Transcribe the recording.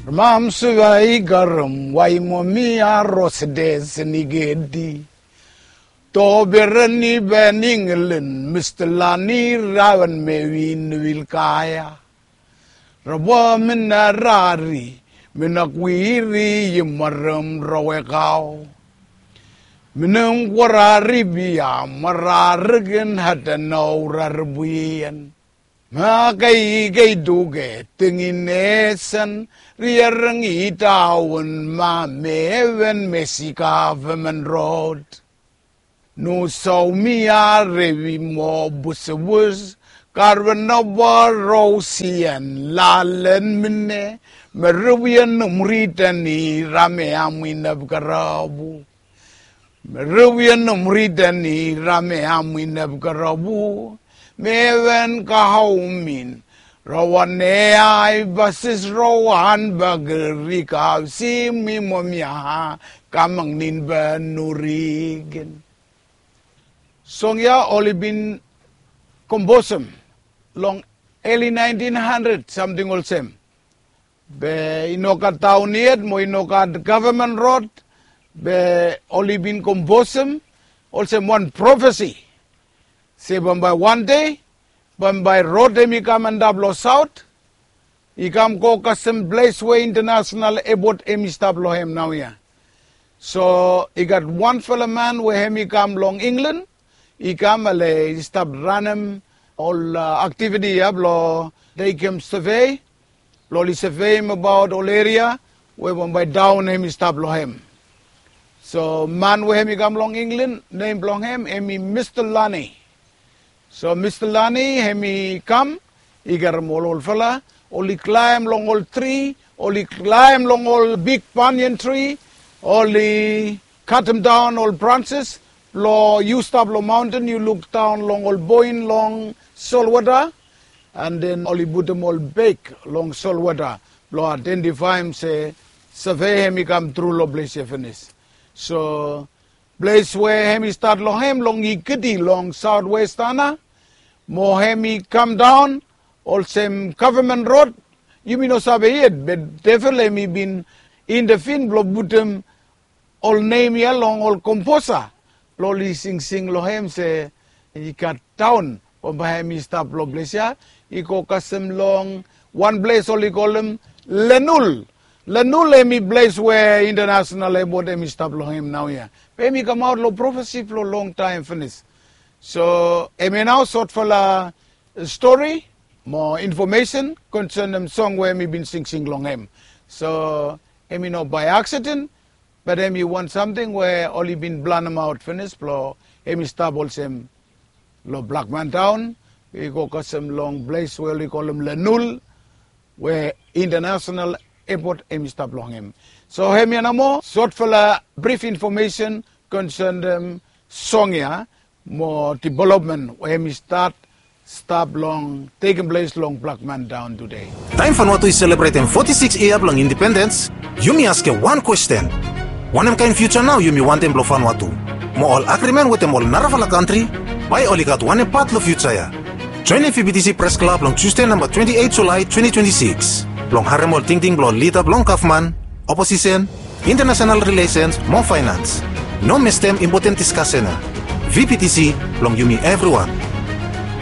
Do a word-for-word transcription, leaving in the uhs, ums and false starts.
Mam suvai garam wai momi a rosdes ni gedi. To berani ben England, Mister Lani rawan me win wil kaya. Rawa mina rari, mina kwiri yim maram rawe kau. Minam kwarari bia mararikin hatanau rarbuian. Ma kai kai duke tingin esan riarang itawan ma meven mesi government road. Nu sau mi a revi mo busebus karven naba rosian lalen mine me revian num ritani rame amwinab karabu. Merewian nom ridan i rame amwin eb karabu. Mewen kahaumin. Rawan e ai basis rawan bageri kau si mi momia kamang nin ba nurigen. Song ya oli bin komposem long early nineteen hundred something olsem. Be i no gat taon yet mo i no gat gavman rod. Be oli bin komposem olsem wan profesi se bambae wan dei bambae rod hem i kam antap long saot. I kam go kasem ples we intanasonal epot hem i stap long hem naoia. So i gat wanfala man we hem i kam long inglan i kam ale i stap ranem ol aktiviti ya blong tekem sevei blong oli seveim abaot ol eria we bambae daon hem i stap long hem. So man we hem i kam long inglan nem blong hem hem i mista lani. So mista lani hem i kam i garem ol olfala oli klaem long ol tri oli klaem long ol bik banian tri oli katem daon ol branses blong yu stap long maonten yu luk daon long ol boin long solwota. An den oli putum ol bek long solwota blong aidentifaem se save hem i kam tru long ples ya finis. So ples we hem i stat long hem long i kiti long saotwestana mo hem i kam daon olsem gavman rod. Yumi no save yet be devel hem i bin intefin blong putum ol nem ya long ol komposa blong oli singsing long hem se i gat daon bambae hem i stap long ples ya. I go kasem long wan ples oli kolem lenul. Lenul hem i ples we intanasonal epot hem i stap long hem naoia. Be hem i kamaot long profesi blong longtaem finis. So hem ya nao sotfala stori mo infomesen konsenem song we hem i bin singsing long hem. So hem i no bae aksiden bat hem i wan samting we oli bin planemaot finis blong hem i stap olsem long blakman daon. I go kasem long ples we oli kolem lenul we intanasonal epot hem i stap long hem. So hem ya namo sotfala brif infomesen konsenem song ya mo divelopmen we hem i stat stap long tekem ples long blakman daon tude. Taem fanua tu i selebretem foti sikis yia blong indipendens, yumi askem wan kwesten. Wanem kaen fiuja nao yumi wantem blong fanua tu mo ol agrimen wetem ol narafala kantri? Bae oli gat wanem pat long fiuja ya? Joenem vptc pres klab long tusde namba twenti eit julae twenti twenti sikis blong harem ol tingting blong ol lida blong gavman, oposisen, intanasonal rilesens mo faenans. No mestem impoten diskasen ya. Vptc blong yumi evriwan.